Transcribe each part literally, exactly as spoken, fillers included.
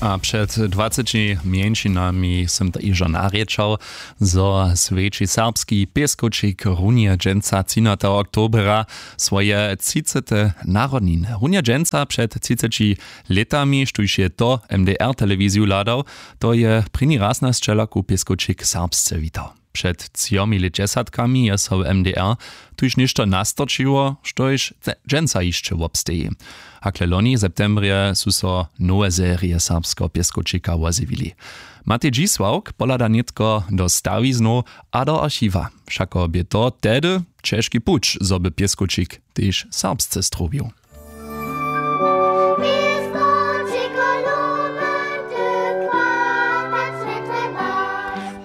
A před dwaceći mjeńšinami sym to hižo narěčał, zo swjeći serbski pěskowčik runje dźensa třinatego oktobera swoje třicete narodniny. Runje dźensa před třiceći lětami, štóž je to M D R telewiziju hladał, to je prěni raz na sćelaku pěskowčik serbsce witał. Před třomi lětdźesatkami je so w M D R tuž něšto nastorčiło, štož dźensa hišće wobsteji. Hakle loni w septembrje su so nowe serije serbskeho pěskowčika wozjewili. Matej Dźisławk pohlada nětko do stawiznow a do archiwa. Wšako bě to tehdy ćežki puć, zo by pěskowčik tež serbsce strowił.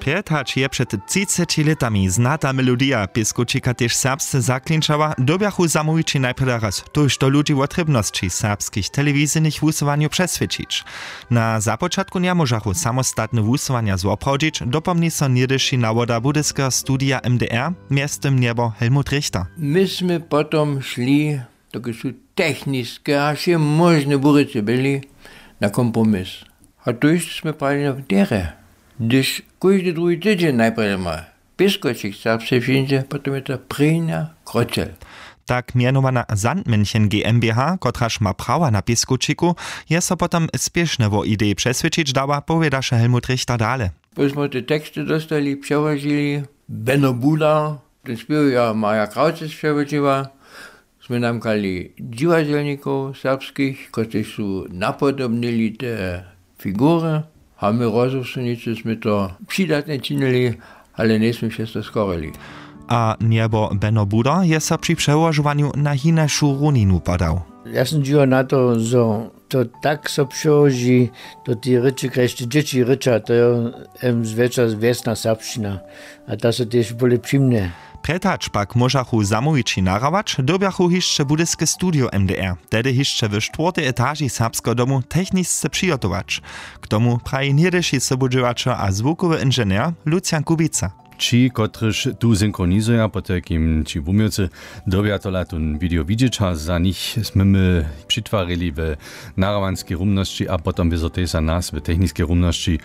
Prjed hač je před třiceći lětami znata melodija pěskowčika tež serbsce zaklinčała, dyrbjachu zamołwići najprjedy raz tójšto ludźi wotrěbnosći serbskich telewizyjnych wusyłanjow přeswědčić. Na započatku njemóžachu samostatne wusyłanja zwoprawdźić, dopomni so něhdyši nawoda budyskeho studija M D R, mjeztym njebo Helmut Richter. My smy potom šli, dokelž su techniske a wše móžne burjecy byli, na kompromis. A tójšto smy prali na wdjerje, hdyž kóždy druhi tydźeń najprjedy ma pěskowčik serbsce přińdźe, potom je to prěnja kroćel. Tak mjenowana Sandmännchen G M B H, kotraž ma prawa na pěskowčiku, je so potom spěšnje wo ideji přeswědčić dała, powědaše Helmut Richter dale. Póž smy te teksty dóstali, přełožili, Beno Buda, ten spěw je Marja Krawc přełožiła, smy namkali dźiwadźelnikow serbskich, kotřiž su napodobnili te figury, a my rozumsnicy smy to přidatnje činili, ale njejsmy přez to schorili. A njebo Beno Buda je so při přełožowanju na hinašu runinu podał. Ja sym dźiwał na to, zo to tak so přełoži do tej rěči, kaž te dźěći rěča, to je em zwjetša wjesna serbšćina, a ta so tež bóle přimnje. Prjed hač pak móžachu zamołwići nahrawać, dyrbjachu hišće budyske studio M D R, tehdy hišće w štwórtej etaži serbskeho domu, technisce přihotować. K tomu praji něhdyši sobudźěłaćel a zwukowy inženjer Lucian Kubica. Ći, kotryž tu synchronizuja, potajkim ći wuměłcy, dyrbja tola tón video widźeć a za nich smy my přitwarili w nahrawanskej rumnosći a potom wězo tež za nas w techniskej rumnosći.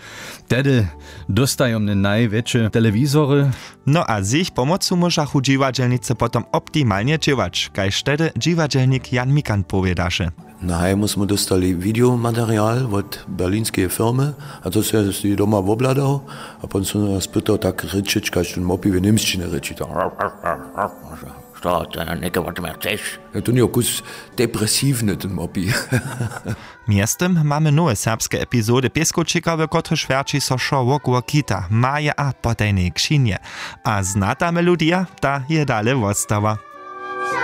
Tehdy dóstajomne najwjetše telewizory. No a z jich pomocu móžachu dźiwadźelnicy potom optimalnje dźěłać, kaž tehdy dźiwadźelnik Jan Mikan powědaše. Na hajmu smy dóstali wideomaterial wot berlinskeje firmy a to so je doma wobhladał a pon so nas pytał tak rěčić, kaž ten mopi w němsćinje rěči. To što, to něke wot mje chceš? Ja, to njeje kus depresiwny, ten mopi. Mjeztym mamy nowe serbske epizody pěskowčika, w kotryž wjerći so wšo wokoło kita, maje a potajnej křinje. A znata melodija, ta je dale wostała.